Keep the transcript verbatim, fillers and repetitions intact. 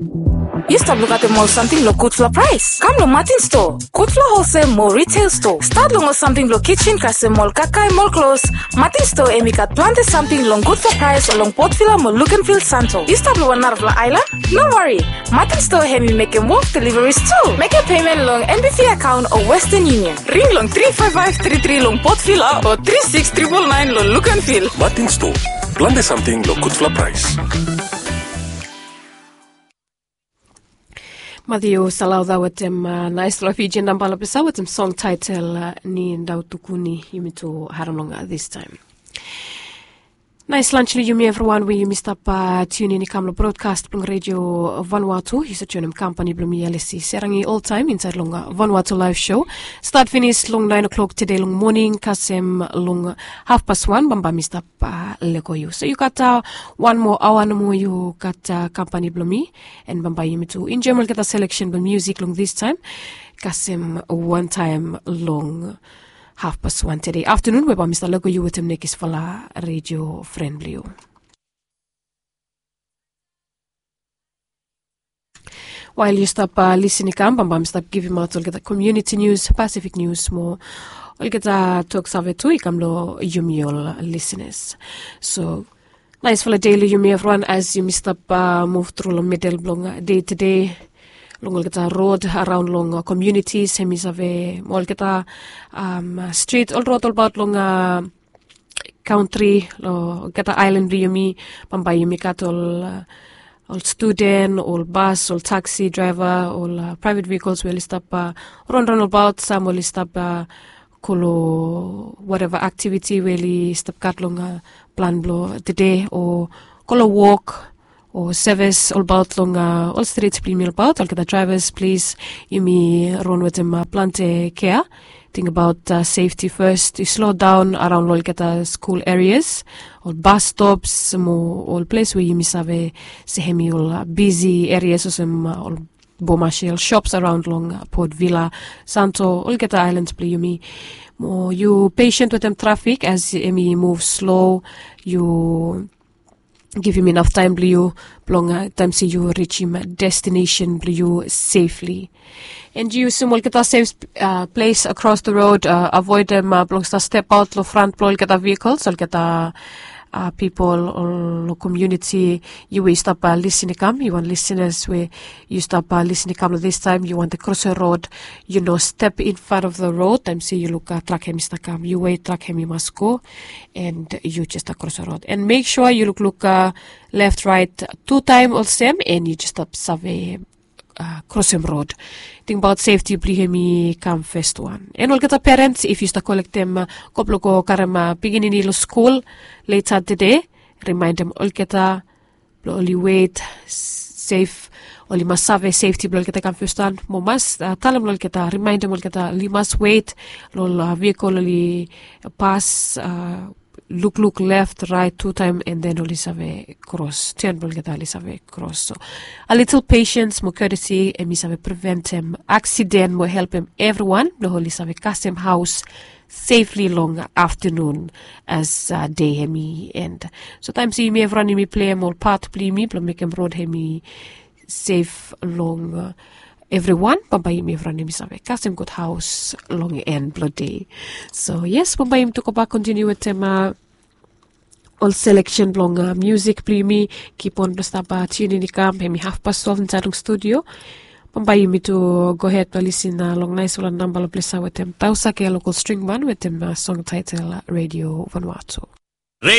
Yu stap lukaotem ol samting long gudfala praes? Kam long Martin Store, gudfala holsel mo retail store. Stat long ol samting blong kitchen kasem ol kakae mo ol klos. Martin Store em i gat plante samting long gudfala praes long Port Vila mo Luganville, Santo. Yu stap long wan narafala aelan? No wari. Martin Store hem i mekem wok deliveries tu. Mekem payment long N B C account o Western Union. Ring long three five five three three long Port Vila o three six triple nine long Luganville. Martin Store, plante samting long gudfala praes. Matthew Salauda wetem uh, nice love Fijian namba lapesa wetem song title uh, ni ndau tukuni yumi tu haram long uh, this time. Nice lunch long yumi everyone we yumi stap uh, tune in i kam long broadcast blong radio Vanuatu. Yu sa joinim company blong mi Alesi Serangi all time inside long uh, Vanuatu live show. Start finish long nine o'clock today long morning kasem long half past one bamba mi stap uh, lego yu. So yu gat uh, one more hour nomo yu gat uh, company blong mi. En bambae yumi tu enjoem olgeta selection blong music long this time kasem one time long half past one today afternoon we bambae mi stap lego yu wetem nekisfala radio friend blong yu. Wael yu stap uh, lisin i kam bambae mi stap givimaot olgeta community news, Pacific news mo olgeta tok save tu i kam long yumi ol listeners. So Naisfala dei long yumi evriwan as yumi stap muv tru long midel blong dei tede. Long olgeta rod araon long komiunitis hem i save mo olgeta strit ol rod olbaot long kantri long olgeta aelan blong yumi. Bambae yumi gat ol ol studen, ol bas, ol taksi draeva, ol praevet vehikols we oli stap ronron olbaot, sam oli stap go long wateva aktiviti we oli stap gat long plan blong tede o go long wok o sevis olbaot long ol strit blong yumi olbaot. Olgeta draevas plis yumi ron wetem plante kea. Tingbaot sefti fes, yu slodaon araon long olgeta skul erias, ol bas stops mo ol ples we yumi save se hem i ol bisi erias olsem ol Bomashel shops araon long Port Vila, Santo, olgeta aelans blong yumi. Mo yu pesen wetem trafik as hem i muv slo. Yu givim inaf taem blong yu blong taem se yu rijim destinesen blong yu sefli. And yu yusum olgeta sef ples akros the rod, avoedem blong stap stepaot long fran blong olgeta vehikols, olgeta pipol long komiuniti. Yu we yu stap lisin i kam, yu wan lisinas we yu stap lisin i kam long distaem, yu wantem krosim rod, yu no step in front of the rod taem se yu luk trak hem i stap kam, yu we trak hem i mas go. And yu jes stap krosim rod and mek sua yu lukluk left rait tutaem olsem and yu jes stap save krosim rod. Tingbaot sefti blong hem i kam fes wan. And olgeta perens if yu stap kolektem go blong go karem pikinini long skul leta tede, rimaendem olgeta blong oli wet sef, oli mas save sefti blong olgeta i kam fes wan. Mo mas talem long olgeta, rimaendem olgeta oli mas wet long ol vehikol oli pas, lukluk left rait tutaem and then oli save kros, ten blong olgeta oli save kros. So a litil pesens mo ketesi hem i save preventem aksiden mo helpem evriwan blong oli save kasem haos sefli long aftanun as dei hem i en. So taem se yumi evriwan yumi pleim ol pat blong yumi blong mekem rod hem i sef long evriwan, bambae yumi evriwan yumi save kasem gud haos long en blong dei. So yes, bambae yumi tu gobak kontiniu wetem ol seleksen blong musik blong yumi. Kipon blong stap tiunin i kam, hem i hafpas twelve insaed long studio. Bambae yumi tu gohed blong lisin long naesfala namba long ples ya wetem Tausake lokal string ban wetem song taetel Radio Vanuatu.